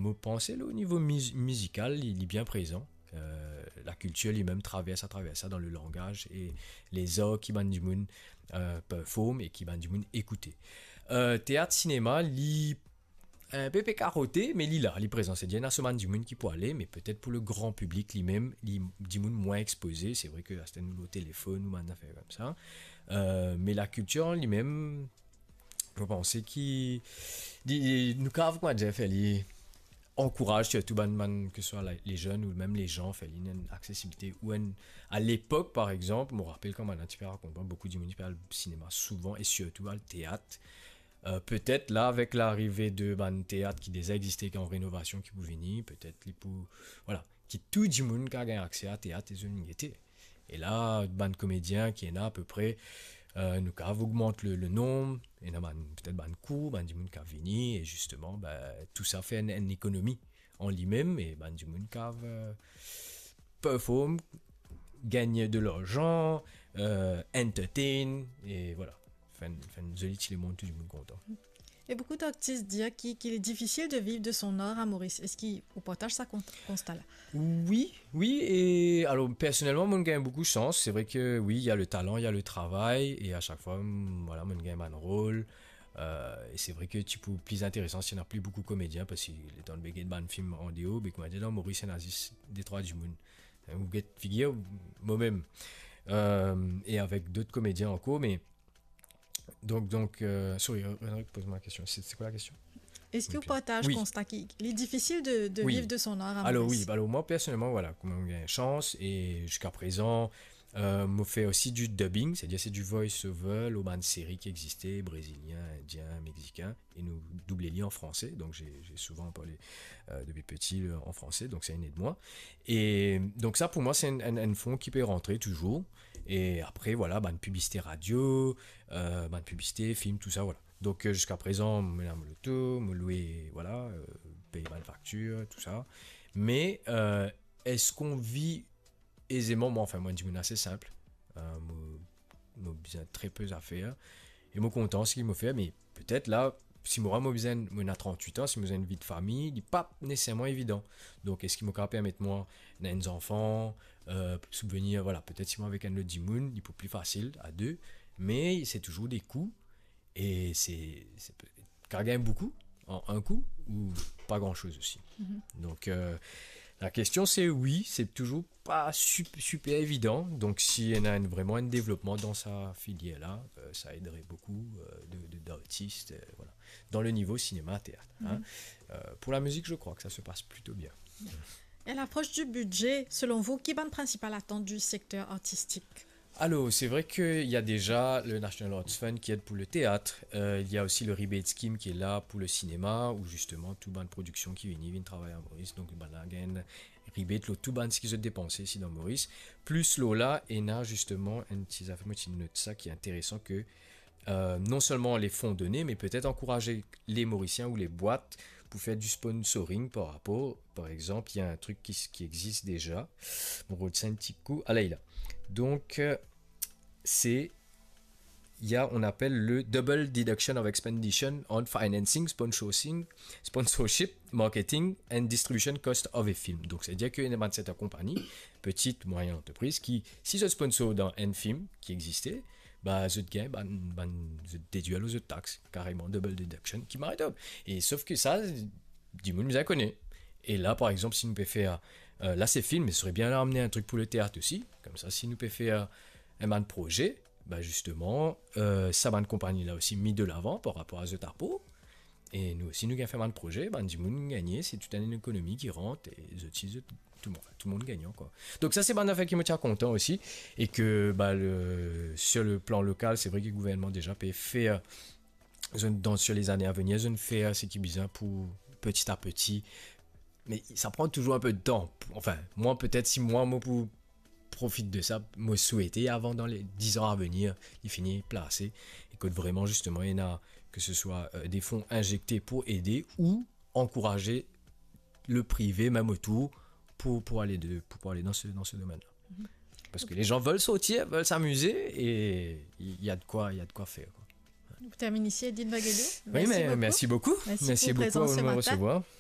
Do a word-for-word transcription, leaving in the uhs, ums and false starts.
Mo panse, o nivo miz-, mizikal, li, li bien prezan. Euh, lakiltir limem travers, atravers sa, dan le langaz e lezar ki bann dimoun, euh, perform e ki bann dimoun ekoute. Euh, teat, sinema, li inpe pe karote, me li la, li prezan. Setadir ena so bann dimoun ki pou ale, me petet pou le gran piblik limem, li dimoun mwin expoze. Se vre ki aster nou lor telefonn ou bann zafer koumsa. Euh, me lakiltir limem, mo panse ki, li, li, nou kav, kouma dir, fer li ankouraz sirtou bann, bann, ke swa la, le zenn ou mem le zan, fer li ena enn aksesibilite ou enn, a lepok, par exanp, mo rapel kan bann ti pe rakont mwa, boukou dimoun ti pe al sinema souvan e sirtou al teat. Euh, petet la, avek larive de bann teat ki deza existe, ki an renovasion, ki pou vini, petet li pou, vwala, ki tou dimoun kav gagn akse a teat e zot gete. E la, bann komedien ki ena apepre, euh, nou kav ogmant le, le nonb, ena bann, petet bann kou, bann dimoun kav vini, e zisteman, be, tou sa fer enn, enn ekonomi an limem, e bann dimoun kav, euh, perform, gagn de larzan, euh, entertain, e vwala. Fer enn, fer enn zoli ti lemond, tou dimoun kontan. E boukou dartis dir ki, ki li difisil de viv de son ar a Moris. Eski ou partaz sa kon-, konsta la? Wi, wi, e alor, personelman, mo'nn gagn boukou sans. Se vre ki, wi, ena le talan, ena le travay, e a sak fwa, mm, vwala, mo'nn gagn bann rol. Euh, e se vre ki ti pou pli interesan si ena pli boukou komedien, parski letan nou pe get bann fim andeor, be, kouma dir, dan Moris, ena zis de trwa dimoun. Ou get figir, momem. Euh, e avek dot komedien ankor, me donk, donk, euh, sorry, re-, re-, repoz mwa la kestion. Se, se kwa la kestion? Eski ou partaz konsta ki li difisil de, de viv de son ar a Moris? Alor wi, alor mwa personelman, vwala, kouma mo'nn gagn sans, e ziska prezan, euh, mo fer osi du dubbing, setadir se du voice over lor bann seri ki existe, brezilien, indien, mexikin, e nou double li an franse, donk j'ai, j'ai souvent parlé, euh, depuis petit, euh, en français, donc ça, il aide moi. E donk sa, pou mwa, se enn, enn, enn fon ki pe rantre touzour. E apre, vwala, bann piblisite radio, euh, bann piblisite, fim, tou sa, vwala. Donk, euh, ziska prezan, mo ena mo loto, mo lwe, vwala, euh, pey bann faktir, tou sa. Me, euh, eski nou viv ezeman? Mwa, anfin, mwa, enn dimoun ase sinp. Euh, mo, mo bizin tre pe zafer. E mo kontan seki mo fer, me petet la, si mwa, mo bizin, mo ena trant-wit an, si mo bizin enn vi de fami, li pa neseserman evidan. Donk, eski mo kav permet mwa ena enn zanfan, euh, sibvenir, vwala, petet si mwa avek enn lot dimoun, li pou pli fasil a de, me se touzour de kou, e se, se pe, kav gagn boukou an enn kou ou pa gran soz osi. Mhm. Donk, euh, la kestion se wi, se touzour pa sup-, siper evidan. Donk, si ena enn, vreman enn devlopman dan sa filier la, euh, sa edre boukou, euh, de, de, dartis, euh, vwala. Dan le nivo sinema, teat, hein. Mhm. Euh, pou la mizik, je crois que ça se passe plutôt bien. E a lapros du bidze, selon vou, ki bann prinsipal atant du sekter artistik? Alor, se vre ki ena deza le National Arts Fund ki ed pou le teat. Euh, ena osi le rebate scheme ki la pou le sinema, ou zisteman tou bann prodiksion ki vini, vinn travay a Moris. Donk, bann la gagn rebate lor tou bann seki zot depanse isi dan Moris. Plis lor la, ena zisteman enn ti zafer, mo ti not sa ki interesan, ki, euh, non selman le fon done, me petet ankouraze le Morisien ou le bwat pou fer du sponsoring par rapor, par exanp, ena enn trik ki, ki existe deza. Mo rod sa enn ti kou. Ala, li la. Donk, euh, se, ena, on appelle le double deduction of expenditure on financing, sponsoring, sponsorship, marketing and distribution cost of a film. Donk, setadir ki ena bann sertin konpagni, petit, moyen antrepriz, ki, si zot sponsor dan enn fim ki existe, ba, zot gagn bann, bann, zot dedwir lor zot tax, kareman double deduction, ki mari top. E sof ki sa, dimoun bizin kone. E la, par exanp, si nou pe fer, euh, la se film, me sere bien amenn enn trik pou le teat osi. Koumsa, si nou pe fer enn bann proze, ba, zisteman, euh, sa bann konpagni la osi mi de lavan par rapor a zot apor. E nou osi, nou gagn fer bann proze, bann dimoun gagne, se tou enn ekonomi ki rant, e zot osi, zot, tou moun, tou moun gagnan, kwa. Donk sa, se bann zafer ki mo ti a kontan osi, e ki, ba, le, sur le plan local, se vre ki gouvernman deza pe fer, zot, dan, sur les années à venir, zot fer seki bizin pou, petit à petit. Me sa pran touzour enn pe de tan. Anfin, mwa, petet si mwa, mo pou profit de sa, mo swete avan, dan le diz an a venir, li fini plase, e ki vreman, zisteman, ena, ke se swa, euh, de fon inzekte pou ede ou ankouraze le prive, mem otour, pou, pou ale de, pou, pou ale dan se, dan se domenn la. Mhm. Parski le zan ve sortir, ve s'amize, e ena de kwa, ena de kwa fer, kwa. Nou termine isi, Eddy Baguedo. Wi, me mersi boukou. Mersi boukou. Mersi boukou pou prezans se matin.